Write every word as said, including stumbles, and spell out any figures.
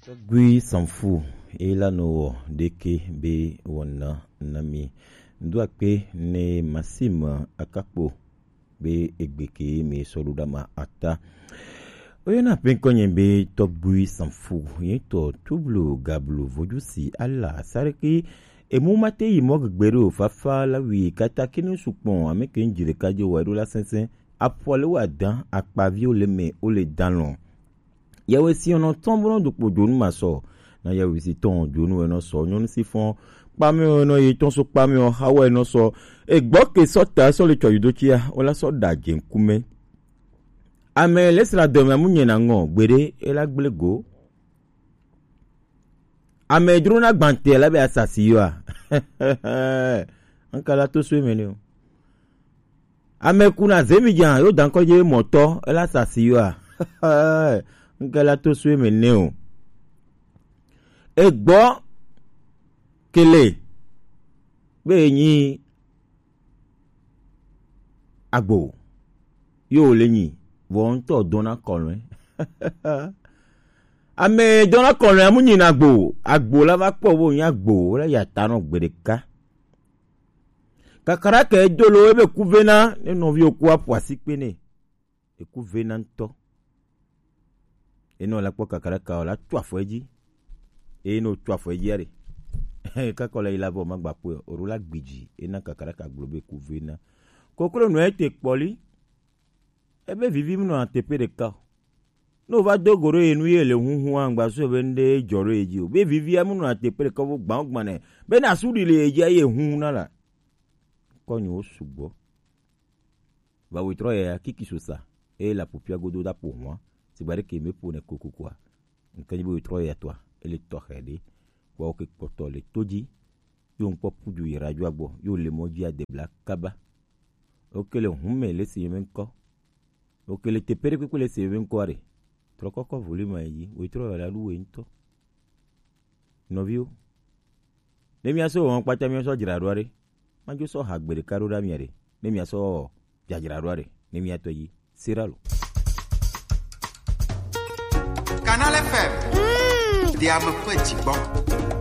Tɔgui Sanfu, ela no wɔ ɖeke be wɔna na mi. Ŋdo akpe ne Maxime Akakpo be egbe ke mi sɔ ɖo ɖa ma ata. Oyɔna pe ŋkɔ nye be Tɔgui Sanfu, ye tɔ tublu gablu vojusi ala sareki emu mate yi mɔ gbegbe ɖo fafa la wi kata kinu sukpɔn ame ke ŋdzi ɖeka dzi wɔ eɖo la sɛnsɛn. Afɔ le wa dan akpaviwo le me wo le dan lɔ. Yewe si ɔnɔ tɔn bo nɔ dokpo dzonu ma sɔ. Na yewe si tɔn dzonu enɔ sɔ nyɔnu si fɔn kpami enɔ yi tɔn so kpami ɔ hawa enɔ sɔ. Egbɔ ke sɔ ta sɔ le tsɔ yudo tsia o la sɔ da dzenkume. Ame le sra dɔme amu nye na ŋɔ gbede e la gble go. Ame dro na gbante la be asasi yoa. Nka la to so eme ne o. Ame kuna zemi dza yo dankɔ dze mɔtɔ ela sasi yoa. Nka la to so eme ne o. Egbɔ kele be enyi agbo yo le nyi vɔ ŋutɔ dɔna kɔlɔe. Ame dɔna kɔlɔe amu nyi na agbo, agbo la va kpɔ bo nyi agbo la ya ta nɔ gbe ɖeka. Kakara ke dolo ebe ku vena ne nɔvi oku aƒo asi kpe ne. Eku vena ŋutɔ. Enɔ la kpɔ kakaraka o la tu afɔ edzi. Eye ne wotu afɔ edzi aɖe, kakɔ la yi la vɔ magba kpɔe o, la gbidzi ena kakaraka gblɔ be eku vena. Koklo nɔ ete kpɔli. Ebe vivi mu nɔ ateƒe ɖeka o. Ne wova do go ɖo ye nu ye le huhu angba so be ŋɖe dzɔ ɖo ye dzi o. Be vivia mu nɔ ateƒe ɖeka vo gbã gbã nɛ. Be na su ɖi le ye dzi ye hu na la. Kɔ nyo sugbɔ. Va wo trɔ ya kiki so sa. E la popia godo da po hwa. Sigba ɖe ke me po ne kokoko a. Nke nyi be wo trɔ ya tɔa. Ele tɔxɛ ɖe. Kpɔ ke kpɔtɔ le to dzi. Yo ŋkpɔ pudu yi radio agbɔ. Yo le mɔ dzi adebla kaba. Oke le hume le si me ŋkɔ. Oke le teƒe ɖe kpekpe le si me ŋkɔ ɖe. Trɔ kɔkɔ volume yi. Wo trɔ ya la ɖu we ŋutɔ. Nɔviwo. Ne mía sɔ wɔn kpata mía sɔ dzra ɖo ɖe. Madzo sɔ ha gbe ɖeka ɖo ɖa mía ɖe. Ne mía sɔ dzadzra ɖo ɖe. Ne mía tɔ yi. Sera lo. Canal F M. Mm. Diame ƒe dzigbɔ.